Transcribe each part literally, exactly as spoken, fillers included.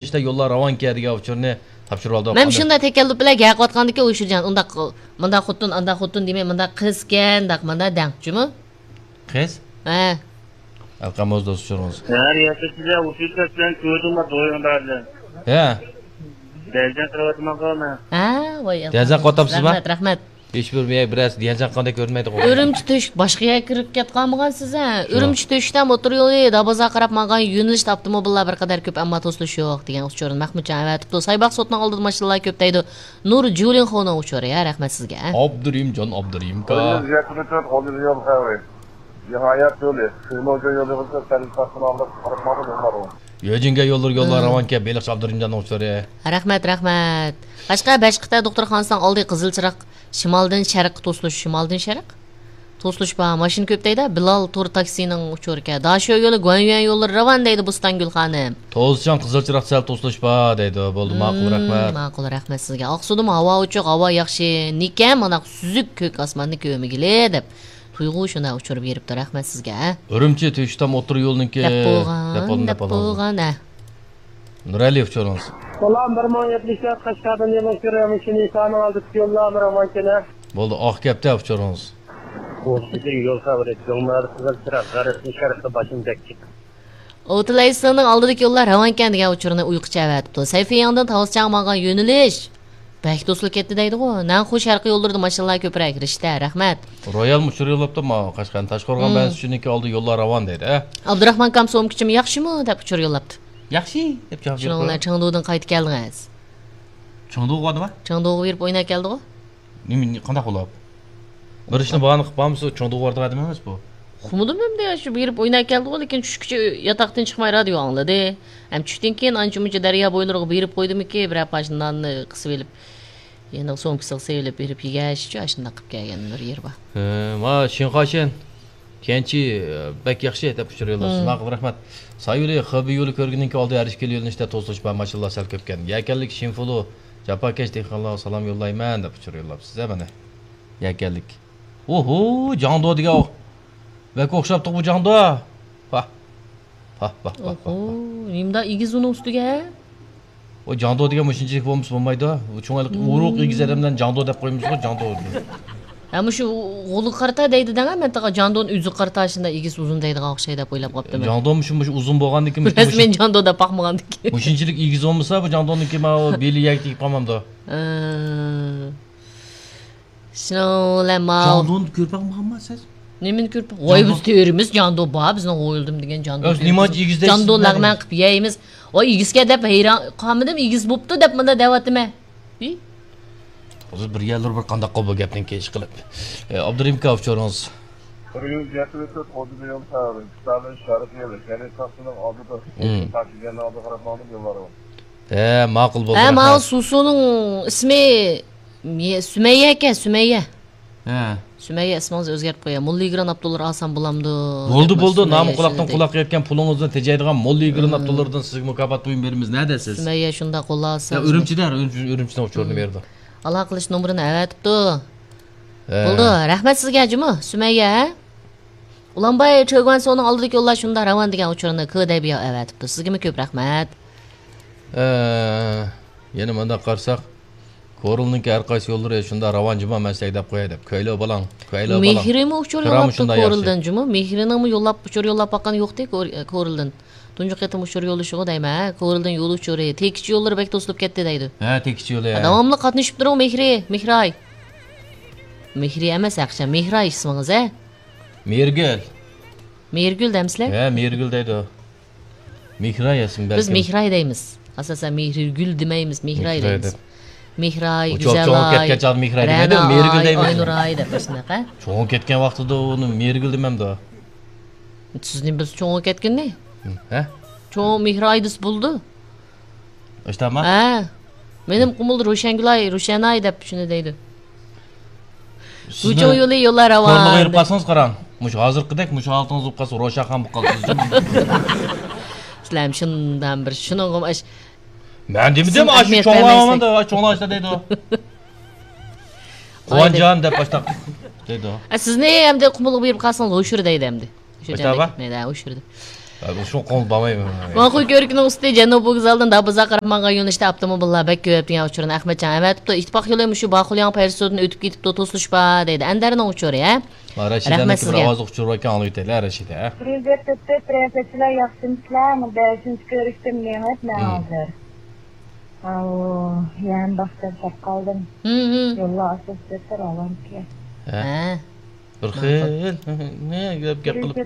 ئىشتا يوللار راۋانكەن دېگەن ئۇچۇرنى تاپشۇرۇۋالدۇق. مەن شۇنداق تەكەللۇپ بىلەن گەپ قىلىۋاتقاندىكىن ئۇيشۇرجان، ئۇنداق، مۇنداق خوتۇن، ئانداق خوتۇن دېمەي، مۇنداق قىزكەن، داق مۇنداق دەڭ، جۇمۇ؟ قىز؟ ھە. ئەلقەم ئۆز دوست ئۇچۇرىڭىز. ھە، رىياسەتچىلەر ئۇچۇر سەسلەن كۆردۈم، ما دويۇڭدا. ھە. دەرجە قىلىۋاتىمەن قالما. ھە، ۋاي، دەرجە ئەلقەم، قوتامسىزما؟ رەھمەت، رەھمەت. ھېچبىر بىر بىرەرسى دىيەنجان قاندەك كۆرۈنمەيدىغۇ. ئۈرۈمچى تۆشۈك باشقا يەرگە كىرىپ كەتقانمىغانسىز ھە؟ شۇ. ئۈرۈمچى تۆشۈكتە ئوتتۇرا يولى دابازا قاراپ ماڭغان يۆنىلىشتە ئاپتوموبىللار بىر قەدەر كۆپ، ئەمما توسۇلۇش يوق دېگەن ئۇچۇرنى مەخمۇتجان ئەۋەتىپتۇ. سايباق سوتنىڭ ئالدىدا ماشىنىلار كۆپ دەيدۇ. نۇر جۇلىنخونىڭ ئۇچۇرى ھە، رەھمەت سىزگە. ئابدۇرېھىمجان، ئابدۇرېھىمكا. قولىمىز يەتمىش تۆت، قولىمىز يول خەۋىرى. نىھايەت يولى. سىزمۇ يولى بولسا سەل تارتىن ئالدىپ قاراپ ماڭىدۇ يوللار. يۆجىڭگە يوللار، يوللار راۋانكەن، بېلىقچى ئابدۇرېھىمجاننىڭ ئۇچۇرى. رەھمەت، رەھمەت. قەشقەر بەشقىتە دوختۇرخانىسىنىڭ ئالدى قىزىل چىراغ. شىمالدىن شەرققە توسۇلۇش، شىمالدىن شەرق؟ توسۇلۇش بار، ماشىنا كۆپ دەيدۇ. بىلال تور تاكسىنىڭ ئۇچۇرىكەن. داشۆ يولى، گۇەنيۈەن يوللىرى راۋان دەيدۇ بوستانگۈل خانىم. توزچان قىزىل چىراغ سەل توسۇلۇش بار دەيدۇ. بولدى، ماقۇل، مم، رەھمەت. ماقۇل، رەھمەت سىزگە. ئاقسۇدىمۇ ھاۋا ئوچۇق، ھاۋا ياخشى. نىكەم مانا سۈزۈك كۆك ئاسماننى كۆرمىگىلى دەپ تۇيغۇ شۇنداق ئۇچۇر بېرىپتۇ. رەھمەت سىزگە. ئۈرۈمچى تۆشۈتام ئوتتۇرا يولنىڭكى دەپ بولغان، دەپ بولغان، دەپ دەپ بولغان. بولغان، ھە. نۇرئەلى ئۇچۇرىڭىز. سالام، بىر مىڭ يەتمىش تۆت قەشقەردىن يېڭى ئۇچۇر، مۇشۇ نىسانىڭ ئالدىدىكى يوللار راۋانكەن ھە. بولدى، ئاق كەپتە ئۇچۇرىڭىز. بۇ سىزدىن يول خەۋىرى، جۇڭمەدە قىزىل چىراغ، غەربتىن شەرققە باشىنى بەكچىك. ئوتلايسىنىڭ ئالدىدىكى يوللار راۋانكەن دېگەن ئۇچۇرنى ئۇيقۇچە ئەۋەتىپتۇ. سەيفىياڭدىن تاۋۇزچاڭ ماڭغان يۆنىلىش بەك توسۇلۇپ كەتتى دەيدىغۇ. نەنخۇ شەرقىي يوللىرىدا ماشىنىلار كۆپرەك، رىشتە، رەھمەت. رويالمۇ ئۇچۇر يوللاپتۇ، ماۋۇ قەشقەرنىڭ تاشقورغان بەنزىچىنىڭكى ئالدى يوللار راۋان دەيدۇ، ھە؟ ئابدۇراخمان كامسومكىچىم ياخشىمۇ دەپ ئۇچۇر يوللاپتۇ. ياخشى دەپ جاۋاب بېرىپتۇ. شۇنىڭ بىلەن چېڭدۇدىن قايتىپ كەلدىڭىز. چېڭدۇغا باردىما؟ چېڭدۇغا بېرىپ ئويناپ كەلدىغۇ. نېمە، قانداق بولۇپ؟ بىر ئىشنى باھانە قىلىپ بارمىسا، چوڭدۇغا بارىدىغان ئادەم ئەمەس بۇ. ئۇقمىدىم ئەمدى، شۇ بېرىپ ئويناپ كەلدىغۇ، لېكىن چۈشكىچە ياتاقتىن چىقماي رادىيو ئاڭلىدى. ھەم چۈشتىن كېيىن ئانچە-مۇنچە دەريا بويلىرىغا بېرىپ قويدىمىكى، بىرەر پارچە ناننى قىسىۋېلىپ، يەنە سومكىسىغا سېلىپ بېرىپ يېگەچ، ئاشۇنداق قىلىپ كەلگەن بىر يېرى بار. ھە، ما شىنخۇاشەن. كيەنچى، بەك ياخشى دەپ ئۇچۇر يوللاپسىز. مم. ماقۇل، رەھمەت. سايۇلى خېبېي يولى كۆرگىنىڭكى ئالدى ھەر ئىككىلا يۆنىلىشتە توسۇلۇش بار، ماشىنىلار سەل كۆپكەن. يەكەنلىك شىنفۇلۇ، جاپاكەش دېھقانلارغا سالام يوللايمەن دەپ ئۇچۇر يوللاپسىز ھە مانا. يەكەنلىك. ئوھو، جاڭدۇ دېگەن ئوخ. بەك ئوخشاپتۇق بۇ جاڭدۇ. ۋاھ. ۋاھ، ۋاھ، ۋاھ، ۋاھ، ۋاھ. ئوھو، نېمىدا ئېگىز ئۇنىڭ ئۈستىگە؟ ئۇ جاڭدۇ دېگەن مۇشۇنچىلىك بولمىسا بولمايدۇ. بۇ چوڭ ھېلىقى ئۇرۇق ئېگىز ئادەملەرنى جاڭدۇ دەپ قويىمىزغۇ، جاڭدۇ. ھە، مۇشۇ غولىغا قارىتا دەيدۇ دەڭە، مەن تاغا جاڭدۇنى ئۆزىگە قارىتا شۇنداق ئېگىز ئۇزۇن دەيدىغان ئوخشاي دەپ ئويلاپ قاپتىمەن. جاڭدۇ مۇشۇ، مۇشۇ ئۇزۇن بولغاندىكىن، مۇشۇ، رەسمەن جاڭدۇ دەپ باقمىغاندىكىن. مۇشۇنچىلىك ئېگىز بولمىسا، بۇ جاڭدۇنىڭكى ماۋۇ بېلى يەرگە تېگىپ قالمامدۇ؟ ھە. شۇنىڭ بىلەن ماۋۇ جاڭدۇنى كۆرۈپ باقمىغانما سىز؟ نېمىنى كۆرۈپ باق-، ۋاي، جاڭدۇن. بىز تۆرىمىز جاڭدۇ بار، بىزنىڭ ھويلىدىمۇ دېگەن جاڭدۇ ئەس، تۆرىمىز. نېمانچە ئېگىز دەيسىز جاڭدۇ بۇنى؟ لەغمەن قىلىپ يەيمىز. ۋاي، ئېگىزكەن دەپ ھەيران قالمىدىم، ئېگىز بوپتۇ دەپ مۇنداق دەۋاتىمەن. ھى؟ ھازىر بىر يەرلىرى بىر قانداق قىلىپ بۇ گەپنىڭ كېيىن ئىشقىلىپ. ئابدۇرېھىم ئاكا ئۇچۇرىڭىز. بىر يۈز يەتمىش تۆت قوزۇمى يول سەۋەبى، ئىستالىن شەرقىي يولى، كەنت ساقچىسىنىڭ ئالدىدا، مم. تاكسىگەرنىڭ ئالدىغا قاراپ ماڭدىم يوللارغا. ھە، ماقۇل بولدى، ھە، ماۋۇ رەھمەت. سۇسۇنىڭ ئىسمى مې-، سۈمەييە ئىكەن، سۈمەييە. ھە. سۈمەييە ئىسمىڭىزنى ئۆزگەرتىپ قوياي. موللا يىگىرمە ئابدۇللار ئالسام بولامدۇ؟ بولدى، دەپمۇ بولدى. سۈمەييە نامى قۇلاقتىن شۇنداق. قۇلاققا يەتكەن پۇلىڭىزنى تېجەيدىغان موللا يىگىرمە مم. ئابدۇللاردىن سىزگە مۇكاپات بۇيۇم بېرىمىز. نەدە سىز؟ سۈمەييە شۇنداق قوللاسا يا، ئۆزىمىز. ئۈرۈمچىدە، ئۈرۈمچى، ئۈرۈمچىنىڭ ئۇچۇرىنى مم. بېرىدۇ. ئالاقىلىشىش نومۇرىنى ئەۋەتىپتۇ. ھە. بولدى. رەھمەت سىزگە جۇمۇ، سۈمەييە، ھە؟ ئۇلانباي چۆگۈەنسۇنىڭ ئالدىدىكى يوللار شۇنداق راۋان دېگەن ئۇچۇرنى كېدەبىيا ئەۋەتىپتۇ. سىزگىمۇ كۆپ رەھمەت. ئە، يەنە مۇنداق قارىساق، كورلىنىڭكى ھەر قايسى يوللىرى شۇنداق راۋان جۇما، مەن سىلەرگە دەپ قوياي دەپ. كۆيلەۋ بالاڭ، كۆيلەۋ بالاڭ. مېھرىمۇ ئۇچۇر كىرامۇ يوللاپتۇ شۇنداق ياخشى. كورلدىن جۇمۇ. مېھرىنىڭمۇ يوللاپ، ئۇچۇر يوللاپ باققىنى يوقتى كور-، كورلدىن. تۇنجى قېتىم ئۇچۇر يوللىشىغۇ دەيمەن، ھە؟ كورلدىن يول ئۇچۇرى، تېكىچ يوللىرى بەك توسۇلۇپ كەتتى دەيدۇ. ھە، تېكىچ يولى، ھە، ھە. داۋاملىق قاتنىشىپ تۇرۇڭ، مېھرى، مېھراي. مېھرى ئەمەس، ھەقىچان مېھراي ئىسمىڭىز، ھە؟ مېھرىگۈل. مېھرىگۈل دەمسىلەر؟ ھە، مېھرىگۈل دەيدۇ. مېھراي ئىسمى بىز بەلكىم. مېھراي دەيمىز. ئاساسەن مېھرىگۈل دېمەيمىز، مېھراي مېھراي دەيمىز. دەپ. مېھراي، ئۇ چوڭ، چوڭ گۈزەلاي، كەتكەن چاغدا مېھراي دېمەيدۇ، رەناي، مېھرىگۈل دەيمىز. ئاينۇراي دەپ ئاشۇنداق، ھە؟ چوڭ كەتكەن ۋاقتىدا ئۇنى مېھرىگۈل دېمەمدۇ؟ سىزنى بىز چوڭ كەتكىنى؟ ھە؟ چوڭ مېھراي دېسە بولىدۇ. ئىشتامما؟ ھە. مېنىڭ قۇمۇل روشەنگۈلاي، روشەناي دەپ شۇنى دەيدۇ. سىزنى بۇ چوڭ يولى يوللار راۋان. كورلىغا يۈرۈپ قالسىڭىز قاراڭ. مۇشۇ ھازىرقىدەك مۇشۇ ھالىتىڭىز بولۇپ قالسا روشەنخان بولۇپ قالىسىز. سىلەر شۇنداق بىر شۇنىڭغا ئاش-، مەن دېمىدىم، سىز ئاشۇ ئەھمىيەت چوڭلار بەرمەيسىز. ئالمامدا، ئاشۇ چوڭلار ئىشتا دەيدۇ. قۇۋانجان دەپ باشلاپ دەيدۇ. ئە، سىزنى ئەمدى قۇمۇلغا بېرىپ قالسىڭىز ھوشۇر دەيدۇ ئەمدى. شۇ ئاشتابا؟ جاندەك كەتمەيدۇ، ھە، ئۇچۇردى. شۇ قول بارمايمەن. ماقۇل كۆۋرۈكىنىڭ ئۈستى جەنۇبىي ۋوگزالدىن دابىزا قاراپ ماڭغان يۆنىلىشتە ئاپتوموبىللار بەك كۆپ دېگەن ئۇچۇرنى ئەخمەتجان ئەۋەتىپتۇ. ئىتتىپاق يولى مۇشۇ باخۇلياڭ پەيزىسۇدىن ئۆتۈپ كېتىپتۇ، توسۇلۇش بار دەيدۇ. ئەندەرنىڭ ئۇچۇرى، ھە؟ رەشىدەنىڭكى بىر ئاۋازلىق ئۇچۇر باركەن، ئاڭلىۋېتەيلى، رەشىدە. بىر يۈز يەتتە تۆت، رەشىدە. سىلەر ياخشىمۇسىلەر؟ مۇ بەشىنچى كۆرۈشتىن مېڭىپ مەن ھازىر. ئاۋۇ، يەنە باختىن چاپ قالدىم. يوللار ئاچىلىپ كەتتى، راۋانكى. ھە. بىر خىل نېمە گەپ گەپ قىلىپ.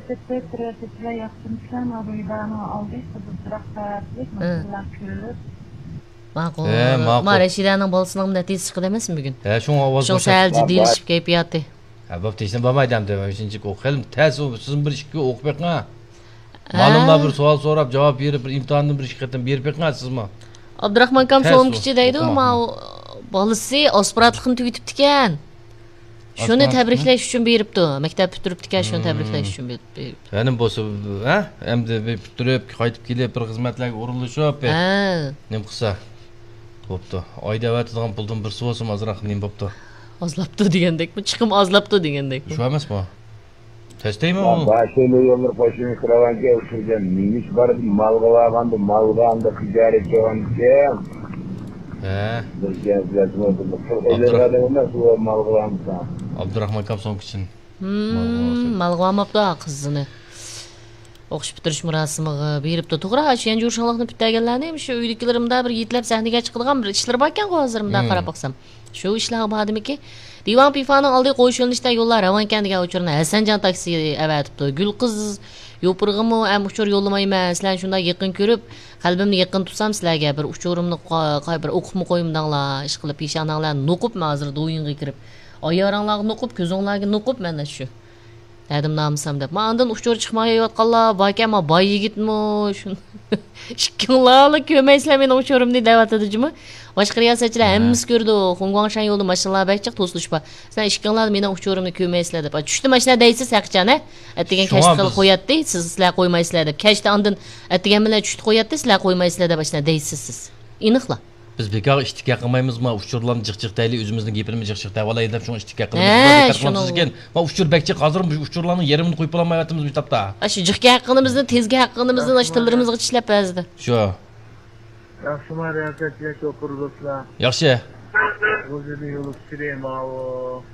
ماقۇل. ھە، ماقۇل. ما رەشىدەنىڭ بالىسىنىڭ نەتىجىسى چىقىدۇ ئەمەسمۇ بۈگۈن؟ ھە، شۇڭا ئاۋاز شۇڭا سەل جىددىيلىشىپ كەيپىياتى. ھە، بوپتۇ، ھېچنېمە بولمايدۇ ئەمدى. ئۈچىنچى ئوقۇ خېلى تەس، سىزمۇ بىر ئىككى ئوقۇپ بېقىڭ. مالىملار بىر سوئال سوراپ جاۋاب بېرىپ، بىر ئىمتىھاندىن بىر ئىككى قېتىم بېرىپ بېقىڭ سىزمۇ. ئابدۇراخمان ئاكام سومكىچى دەيدۇ، ماۋۇ بالىسى ئاسپىرانتلىقنى تۈگىتىپتىكەن. شۇنى تەبرىكلەش ئۈچۈن بېرىپتۇ. مەكتەپ پۈتتۈرۈپتىكەن، شۇنى تەبرىكلەش ئۈچۈن بېرىپتۇ. يەنە بولسا، ھە؟ ئەمدى بىر پۈتتۈرۈپ، قايتىپ كېلىپ، بىر خىزمەتلەرگە ئورۇنلىشىپ، ھە، نېمە قىلسا بوپتۇ. ئايدا ئەۋەتىدىغان پۇلدىن بىرسى بولسىمۇ ئازراق نېمە بوپتۇ. ئازلاپتۇ دېگەندەكمۇ؟ چىقىم ئازلاپتۇ دېگەندەكمۇ؟ شۇ ئەمەسمۇ؟ تەستەيمۇ؟ باشلىق يوللىرى قوشۇن كىراۋانكە ئۇچۇرگەن مېڭىش بار، مالغا بارغاندا، مالغا ئاندا خىجارەت قىلغانكەن. ھە. بىر گەپ ئەمەس، ئۇ مالغا بارمىسا. ئابدۇراخمان ئاكام سومكىچىن. مالغا بارماپتۇ قىزىنى. ئوقۇش پۈتتۈرۈش مۇراسىمىغا بېرىپتۇ. توغرا، شيەنجۇ شاڭلىقنى پۈتتۈرگەنلەرنى مۇشۇ ئۆيدىكىلىرىمدا بىر يېتىلەپ سەھنىگە چىقىدىغان بىر ئىشلىرى باركەنغۇ ھازىر مۇنداق قاراپ باقسام. شۇ ئىشلارغا باردىمىكى؟ دىۋاڭ پىفانىڭ ئالدى قويۇش يۆنىلىشىدە يوللار راۋانكەن دېگەن ئۇچۇرنى ھەسەنجان تاكسى ئەۋەتىپتۇ. گۈلقىز يوپۇرغىمۇ ھەم ئۇچۇر يوللىمايمەن، سىلەرنى شۇنداق يېقىن كۆرۈپ، قەلبىمنى يېقىن تۇتسام سىلەرگە بىر ئۇچۇرۇمنى قا-، قا-، بىر ئوقۇپمۇ قويمىدىڭلار، ئىشقىلىپ پېشانەڭلار نوقۇپ، مەن ھازىر دويۇنغا كىرىپ ئايالىڭلارغا نوقۇپ، كۆزۈڭلارگە نوقۇپ، مەن شۇ. دەدىم نامىسام دەپ. ما ئاندىن ئۇچۇر چىقمايۋاتقانلار باركەن، ما باي يىگىتمۇ شۇ. ئىككىڭلارلا كۆرمەيسىلەر مېنىڭ ئۇچۇرۇمنى دەۋاتىدۇ جۇمۇ. باشقا رىياسەتچىلەر ھەممىسى كۆرىدۇ. خۇڭگۇاڭشەن يولىدا ماشىنىلار بەك جىق، توسۇلۇش بار. سىلەر ئىككىڭلار مېنىڭ ئۇچۇرۇمنى كۆرمەيسىلەر دەپ. چۈشتە ماشىنا دەيسىز ھەقىچان ھە. ئەتىگەن كەچتە قوياتتى، سىز سىلەر قويمايسىلەر دەپ. كەچتە ئاندىن ئەتىگەن بىلەن چۈشتە قوياتتى، سىلەر قويمايسىلەر دەپ ئاشۇنداق دەيسىز سىز. ئېنىقلا. بىز بىكارغا ئىتتىكا قىلمايمىز، ما ئۇچۇرلارنى جىق جىق دەيلى، ئۆزىمىزنىڭ گېپىنىمۇ جىق جىق دەۋالايلى دەپ شۇڭا ئىتتىكا قىلىمىز. ھە، شۇنىڭ. ما ئۇچۇر بەك جىق، ھازىر بۇ ئۇچۇرلارنىڭ يېرىمىنى قويۇپ بولالمايۋاتىمىز بۇ تاپتا. ئاشۇ جىق گەپ قىلغىنىمىزنى، تېز گەپ قىلغىنىمىزنى ئاشۇ تىللىرىمىزغا چىشلەپ بەزىدە. شۇ. ياخشىما رىياسەتچىلەر، شوپۇر دوستلار؟ ياخشى. غۇلجىدا يول ئۇچۇرى ماۋۇ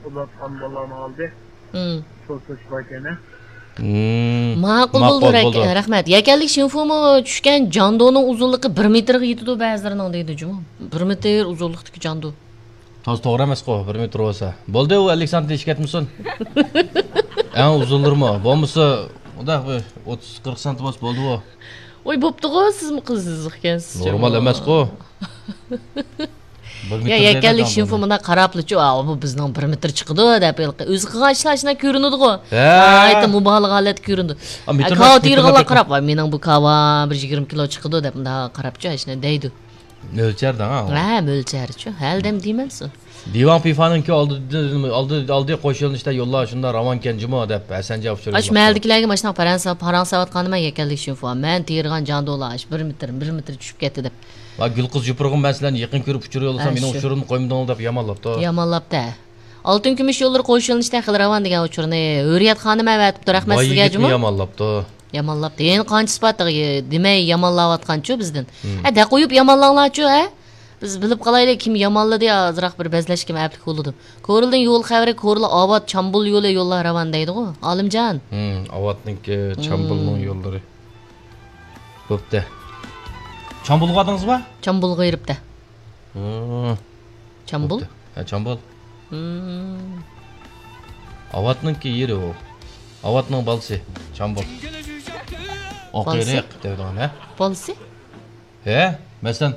ئۇلاتقان بالىلارنىڭ ئالدى. توسۇش باركەن ھە. ماقۇل بولدى، رەھمەت. يەكەنلىك شىنفۇمۇ چۈشكەن جاندونىڭ ئۇزۇنلۇقى بىر مېتىرغا يېتىدۇ بەزىلىرىنىڭ دەيدۇ جۇمۇ. بىر مېتىر ئۇزۇنلۇقتىكى جاندو. تازا توغرا ئەمەسقۇ، بىر مېتىر بولسا. بولدى، ئۇ ئەللىك سانتى ئېشىپ كەتمىسۇن. ئەڭ ئۇزۇنلىرىمۇ. بولمىسا، ئۇنداق بىر ئوتتۇز قىرىق سانتى بولسا بولدىغۇ. ۋاي، بوپتىغۇ، سىزمۇ قىزىق ئىكەنسىز. نورمال ئەمەسقۇ. يا، يەكەنلىك شىنفۇ مۇنداق قاراپلىچۇ، ئا، بۇ بىزنىڭ بىر مېتىر چىقىدۇ دەپ، ھېلىقى ئۆزى قىلغان ئىشلار شۇنداق كۆرۈنىدىغۇ. ھە. ناھايىتى مۇبالىغە ھالەتتە كۆرۈنىدۇ. كاۋا تېرىغانلار قاراپ، ۋاي، مېنىڭ بۇ كاۋام بىر يىگىرمە كىلو چىقىدۇ دەپ مۇنداق قاراپچۇ، شۇنداق دەيدۇ. ئۆلچەر دەڭ. ھە، ئۆلچەرچۇ. ھەلدەم دېمەمسۇ؟ دىۋاڭ پىفانىڭكى ئالدى، ئالدى، ئالدى قوش يۆنىلىشتە يوللار شۇنداق راۋانكەن جۇمۇ دەپ ھەسەنجان ئۇچۇر. ئاشۇ مەھەللىدىكىلەرگە ماشۇنداق پاراڭ سا-، پاراڭ ساۋاتقاندا مەن يەكەنلىك شىنفۇ، مەن تېرىغان جاندۇلار ئاشۇ بىر مېتىر، بىر مېتىر چۈشۈپ كەتتى دەپ. ۋا گۈلقىز يوپۇرغىم، مەن سىلەرنى يېقىن كۆرۈپ ئۇچۇر يوللىسام، مېنىڭ ئۇچۇرۇمنى قويمىدىڭلار دەپ يامانلاپتۇ. يامانلاپتۇ. ئالتۇن كۈمۈش يوللىرى قوش يۆنىلىشتە خېلى راۋان دېگەن ئۇچۇرنى ھۆرىيەت خانىم ئەۋەتىپتۇ، رەھمەت سىزگە جۇمۇ. يامانلاپتۇ. يامانلاپتۇ. يەنە قانچىسى بار تېخى دېمەي يامانلاۋاتقانچۇ بىزدىن. ھە، دەقويۇپ يامانلاڭلارچۇ، ھە؟ بىز بىلىپ قالايلى، كىم يامانلىدى، ئازراق بىر بەزلەشكىمۇ ئەپلىك بولىدۇ. كورلىدىن يول خەۋىرى، كورلا ئاۋات چامبۇل يولى يوللار راۋان دەيدىغۇ، ئالىمجان. ھىم، ئاۋاتنىڭكى چامبۇلنىڭ يوللىرى. بوپتۇ. چامبۇلغا بارغىنىڭىزمۇ؟ چامبۇلغا بېرىپتۇ. ھىم. چامبۇل؟ بوپتۇ. ھە، چامبۇل. ھىم. ئاۋاتنىڭكى يېرى ئۇ. ئاۋاتنىڭ بالىسى. چامبۇل. ئوقېرىق دەيدىغان، ھە؟ بالىسى؟ ھە، مەسىلەن،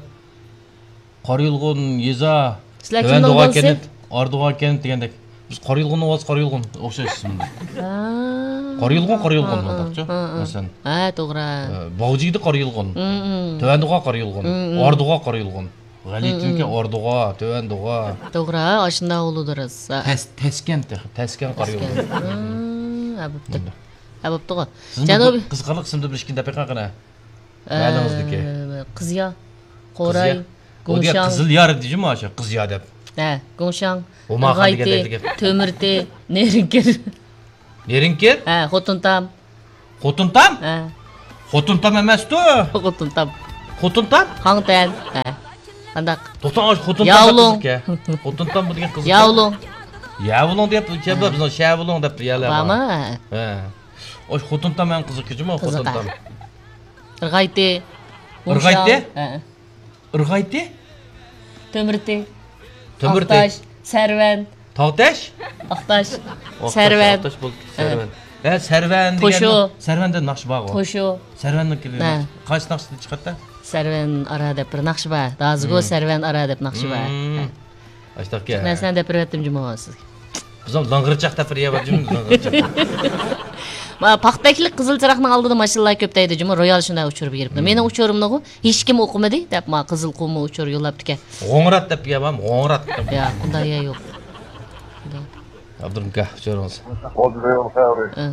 قارا يۇلغۇن، يېزا، سىلەر تۆۋەن كىمنىڭ دوغا بالىسى؟ كەنت، ئارا دوغا كەنت دېگەندەك. بىز قارا يۇلغۇننىڭ بالىسى، قارا يۇلغۇن. ئوخشاش ئىسىم. ھا. قارا يۇلغۇن، قارا يۇلغۇن ھا، ھا، مۇنداقچۇ. ھا، ھا. مەسىلەن. ھە، توغرا. ئە، باغجىگىدە قارا يۇلغۇن. ھىم، ھىم. تۆۋەن دوغا قارا يۇلغۇن. ھىم، ھىم. ئارا دوغا قارا يۇلغۇن. غەلىتىنىڭكى ھىم، ھىم. ئارا دوغا، تۆۋەن دوغا. توغرا، ئاشۇنداق بولىدۇ راست. تەس-، تەسكەن تېخى، تەسكەن قارا يۇلغۇن. تەسكەن. ھىم، ھە، بوپتۇ. ھە، بوپتۇغۇ. سىزنىڭ جەنۇبىي بۇ قىزىقارلىق ئىسىمدىن بىر ئىككىنى دەپ بېقىڭ قېنى. ئە، مەھەللىڭىزدىكى. قىزيا، قوراي، گۇڭشاڭ. قىزىل يار دېدىجۇ مانا شۇ، قىزيا دەپ. ھە، گۇڭشاڭ، ئوماخان دېگەندەك. تۆمۈرتى، نېرىنكىر. نېرىنكىر؟ ھە، خوتۇنتام. خوتۇنتام؟ ھە. خوتۇن تام ئەمەستۇ. خوتۇن تام. خوتۇن تام؟ خاڭتەن. ھە. قانداق؟ توختاڭ، ئاشۇ خوتۇن تام دەپ ياۋلۇڭ. قىزىكەن. خوتۇن تام بۇ دېگەن قىزىكەن. ياۋلۇڭ. ياۋلۇڭ دەپ كەبە بىزنىڭ شەۋلۇڭ دەپ يەلە بار. بارمۇ؟ ھە. ھە. ئاشۇ خوتۇن تام ئەڭ قىزىق جۇمۇ، خوتۇن تام. قىزىق، ھە. ئىرغايتى. ئىرغايتى؟ ھە. ئىرغايتى؟ تۆمۈرتى. تۆمۈرتى. ئاقتاش، سەرۋەن. تاغتاش؟ ئاقتاش، ئاقتاش، سەرۋەن. ئاقتاش بولدى، ھە. سەرۋەن. ھە، سەرۋەن دېگەن. توشۇ. سەرۋەندە ناخشا بارغۇ. توشۇ. سەرۋەننىڭكى ھە. ناخشا-، قايسى ناخشىدا چىقاتتى؟ سەرۋەن ئارا دەپ بىر ناخشا بار. ھازىرغۇ ھىم. سەرۋەن ئارا دەپ ناخشا بار. ھىم. ھە. ئاشتاقكەن. نەرسىلەرنى دەپ بېرىۋەتتىم جۇمۇ سىزگە. بىزنىڭ لىڭغىرچاق دەپ بىر يەر بار جۇمۇ، لىڭغىرچاق. ما، پاختەكلىك قىزىل چىراغنىڭ ئالدىدا ماشىنىلار كۆپ دەيدۇ جۇمۇ، رويال شۇنداق ئۇچۇر بېرىپتۇ. ھىم. مېنىڭ ئۇچۇرۇمنىغۇ ھېچكىم ئوقۇمىدى دەپ، ما، قىزىل قۇمۇ ئۇچۇر يوللاپتىكەن. غوڭرات دەپ يەر بارمۇ؟ غوڭرات دەپ. ياق، ئۇنداق يەر يوق. ئابدۇرۇھىم ئاكا، ئۇچۇرىڭىز. ئولتۇرۇڭ، سەۋرى. ئە.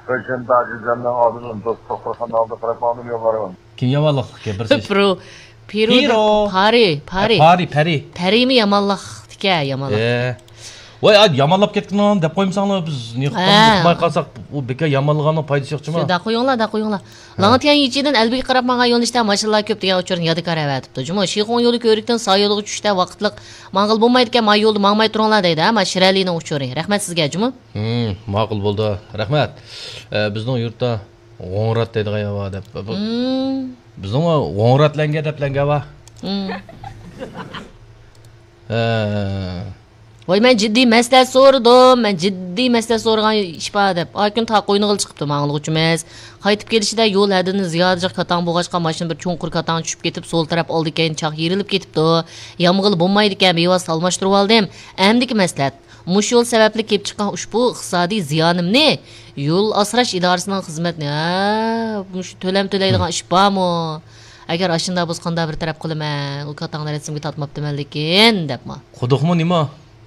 ئۆشەمدە ئاجىزلارنىڭ ئالدىدىن دوستلۇق قىلغان ھالدا قاراپ ماڭدىم يوللارغا. كىم يامانلىق قىلىپتىكەن بىرسى؟ پىرو. پىرو دەپ پىرو. پارى، پارى. ئە، پارى، پارى. پەرىمۇ يامانلىق دېگەن يامانلىق. ئە. ۋاي، ئا، يامانلاپ كەتكىنىڭ دەپ قويمىساڭلار، بىز نېمە ھە. ئۇقماي قالساق، ئۇ بىكار يامانلىغاننىڭ پايدىسى يوق جۇمۇ. شۇنداق قويۇڭلار، دا قويۇڭلار. ھە. لاڭتيەن يىچىدىن ئەلبىگە قاراپ ماڭغان يۆنىلىشتە ماشىنىلار كۆپ دېگەن ئۇچۇرنى يادىكار ئەۋەتىپتۇ جۇمۇ. شىخۇڭ يولى كۆۋرۈكتىن سا يولغا چۈشۈشتە ۋاقىتلىق ماڭغىلى بولمايدىكەن، ما يولدا ماڭماي تۇرۇڭلار دەيدۇ، ھە، ما شىرەلىنىڭ ئۇچۇرى. رەھمەت سىزگە جۇمۇ. ھىم، ماقۇل بولدى. رەھمەت. ئە، بىزنىڭ يۇرتتا غوڭرات دەيدىغان يەر بار دەپ. بۇ، ھىم. بىزنىڭ غوڭرات لەڭگە دەپ لەڭگە بار. ھىم. ھە. ۋاي، مەن جىددىي مەسلىھەت سورىدىم، مەن جىددىي مەسلىھەت سورىغان ئىش بار دەپ. ئا كۈن تا قوينىغىلى چىقىپتۇ ماڭغۇلىغۇچىمىز. قايتىپ كېلىشىدە يول ھەددىدىن زىيادىچە كاتاڭ بولغاچقا، ماشىنا بىر چوڭقۇر كاتاڭغا چۈشۈپ كېتىپ، سول تەرەپ ئالدى كەينى چاق يېرىلىپ كېتىپتۇ. يامىغىلى بولمايدىكەن، بىۋاسىتە ئالماشتۇرۇۋالدىم. ئەمدىكى مەسلىھەت. مۇشۇ يول سەۋەبلىك كېلىپ چىققان ئۇشبۇ ئىقتىسادىي زىيانىمنى يول ئاسراش ئىدارىسىنىڭ خىزمەتنى، ھە، مۇشۇ تۆلەم تۆلەيدىغان ئىش بارمۇ؟ ئەگەر ئاشۇنداق بولسا قانداق بىر تەرەپ قىلىمەن؟ ئۇ كاتاڭنى رەسىمگە تارتماپتىمەن لېكىن، دەپما. قۇدۇقمۇ نېمە؟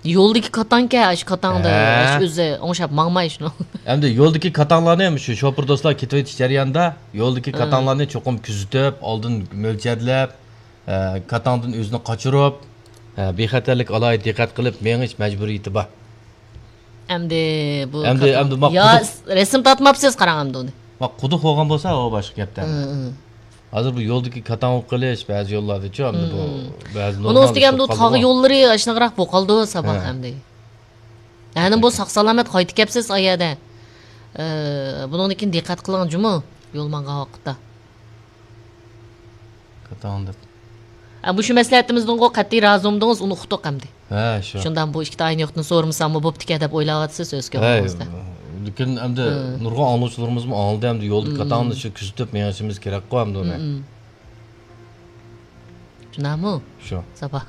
يولدىكى كاتاڭكەن، ئاشۇ كاتاڭدا، ھە. ئاشۇ ئۆزى ئوڭشاپ ماڭماي شۇنىڭ. ئەمدى يولدىكى كاتاڭلارنى، مۇشۇ شوپۇر دوستلار كېتىۋېتىش جەريانىدا يولدىكى ھە. كاتاڭلارنى چوقۇم كۆزىتىپ، ئالدىن مۆلچەرلەپ، ئە، كاتاڭدىن ئۆزىنى قاچۇرۇپ، ئە، بىخەتەرلىك ئالاھىدە دىققەت قىلىپ مېڭىش مەجبۇرىيىتى بار. ئەمدى بۇ ئەمدى، كاتاڭ-، ئەمدى ما يا قۇدۇق، رەسىم تارتماپسىز، قاراڭ ئەمدى ئۇنى. ما قۇدۇق بولغان بولسا، ئۇ باشقا گەپتە. ھە، ھە. ھازىر بۇ يولدىكى كاتاڭ قىلىش بەزى يوللاردىچۇ، ئەمدى بۇ ھە، ھە. بەزى ئۇنىڭ ئۈستىگە ئەمدى تاغ يوللىرى ئاشۇنداقراق بولۇپ قالىدۇ ساباق ھە. ئەمدى. يەنى بۇ ساق سالامەت قايتىپ كەپسىز ئا يەردە. ئە، بۇنىڭدىن كېيىن دىققەت قىلىڭ جۇمۇ، يول ماڭغان ۋاقىتتا. كاتاڭ دەپ. ئە، مۇشۇ مەسلىھەتىمىزدىنغۇ قەتئىي رازى بولمىدىڭىز، ئۇنى ئۇقتۇق ئەمدى. ھە، شۇ. شۇنداق بۇ ئىككى تايىنى يوقتىن سورىمىساممۇ بوپتىكەن دەپ ئويلاۋاتىسىز ئۆز ھەي، كۆڭلىڭىزدە. لېكىن ئەمدى ھە. نۇرغۇن ئاڭلىغۇچىلىرىمىزمۇ ئاڭلىدى، ئەمدى يولدا ھە، ھە. كاتاڭنى شۇ كۆزىتىپ مېڭىشىمىز كېرەكقۇ ئەمدى ئۇنى. ھە، ھە. شۇنداقمۇ؟ شۇ. ساپا.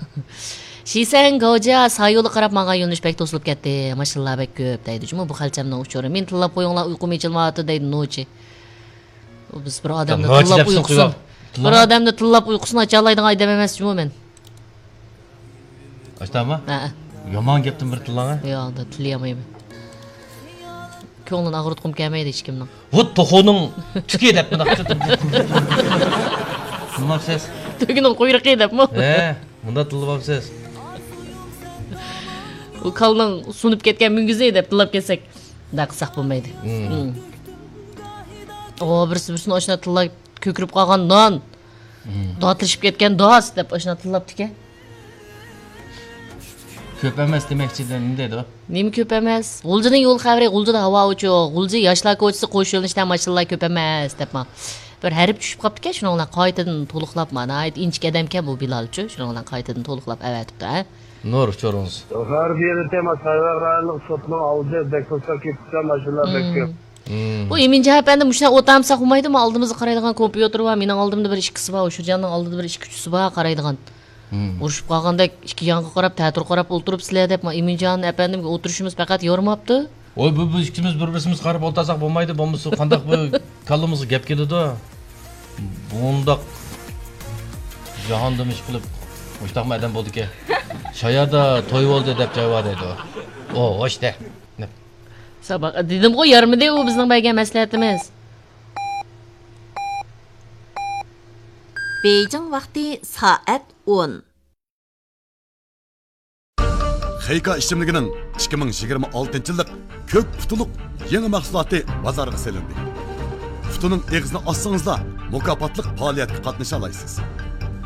شىسەن گاۋجيا سايولى قاراپ ماڭغان يۆنىلىش بەك توسۇلۇپ كەتتى. ماشىنىلار بەك كۆپ دەيدۇ جۇمۇ بۇ خەلچەمنىڭ ئۇچۇرى. مېنى تىللاپ قويۇڭلار، ئۇيقۇم ئېچىلمايۋاتىدۇ دەيدۇ نوچى. بىز بىر ئادەمنى نوچى تىللاپ دەپسىز ئۇيقۇسىنى، قويۇۋال. بىر ئادەمنى تىللاپ ئۇيقۇسىنى ئاچالايدىغان ئادەم ئەمەس جۇمۇ مەن. ئاشتاما؟ ھە. يامان گەپتىن بىر تىللاڭ ھە؟ ياق، تىللىيالمايمەن. كۆڭلىنى ئاغرىتقۇم كەلمەيدۇ ھېچكىمنىڭ. ۋۇ توخۇنىڭ تۈكى دەپ مۇنداق تىللىماپسىز. تۈگىنىڭ قۇيرۇقى دەپمۇ؟ ھە، مۇنداق تىللىماپسىز. ئۇ كالىنىڭ سۇنۇپ كەتكەن مۈڭگۈزى دەپ تىللاپ كەتسەك، مۇنداق قىلساق بولمايدۇ. ھىم. ھىم. ئو، بىرسى بىرسىنى ئاشۇنداق تىللاپ كۆكىرىپ قالغان نان. ھىم. داتلىشىپ كەتكەن داس دەپ ئاشۇنداق تىللاپتىكەن. كۆپ ئەمەس دېمەكچىدىم دېدى. نېمە كۆپ ئەمەس؟ غۇلجىنىڭ يول خەۋىرى، غۇلجىدا ھاۋا ئوچۇق. غۇلجا ياشلار كوچىسى قوش يۆنىلىشتە ماشىنىلار كۆپ ئەمەس دەپما. بىر ھەرپ چۈشۈپ قاپتىكەن، شۇنىڭ بىلەن قايتىدىن تولۇقلاپما. ناھايىتى ئىنچىكە ئادەمكەن بۇ بىلالچۇ، شۇنىڭ بىلەن قايتىدىن تولۇقلاپ ئەۋەتىپتۇ ھە. نۇر، ئۇچۇرىڭىز. ھۆر بىر تېما سايۋەر رايونلۇق سوتنىڭ ئالدى بەك توساپ كېتىپتۇ، ماشىنىلار بەك كۆپ. ھىم. بۇ ئىمىنجان ئەپەندى مۇشۇنداق ئولتۇرمىساق بولمايدۇ، مانا ئالدىمىزدا قارايدىغان كومپيۇتېر بار، مېنىڭ ئالدىمدا بىر ئىككىسى بار، ئۇشۇرجاننىڭ ئالدىدا بىر ئىككى ئۈچىسى بار قارايدىغان. ھىم. ئۇرۇشۇپ قالغاندەك ئىككى يانغا قاراپ، تەتۈر قاراپ ئولتۇرۇپسىلەر دەپ، مانا ئىمىنجان ئەپەندىمگە ئولتۇرۇشىمىز پەقەت يورىماپتۇ. ۋوي، بۇ، بىز ئىككىمىز بىر بىرسىمىزگە قاراپ ئولتۇرساق بولمايدۇ، بولمىسا قانداق بىر كاللىمىزغا گەپ كېلىدۇ. بۇنداق جاھاندا ئىش قىلىپ، مۇشتاقمۇ ئادەم بولدىكەن. شايادا توي بولدى دەپ جاي بار دەيدۇ. ئو، ھوش دە. ساباق، دېدىمغۇ، يارىمىدى ئۇ بىزنىڭ بەرگەن مەسلىھەتىمىز. بېيجىڭ ۋاقتى سائەت ئون. خېيكا ئىچىملىكىنىڭ ئىككى مىڭ يىگىرمە ئالتىنچى يىللىق كۆك قۇتىلىق يېڭى مەھسۇلاتى بازارغا سېلىندى. قۇتىنىڭ ئېغىزىنى ئاچسىڭىزلا، مۇكاپاتلىق پائالىيەتكە قاتنىشالايسىز.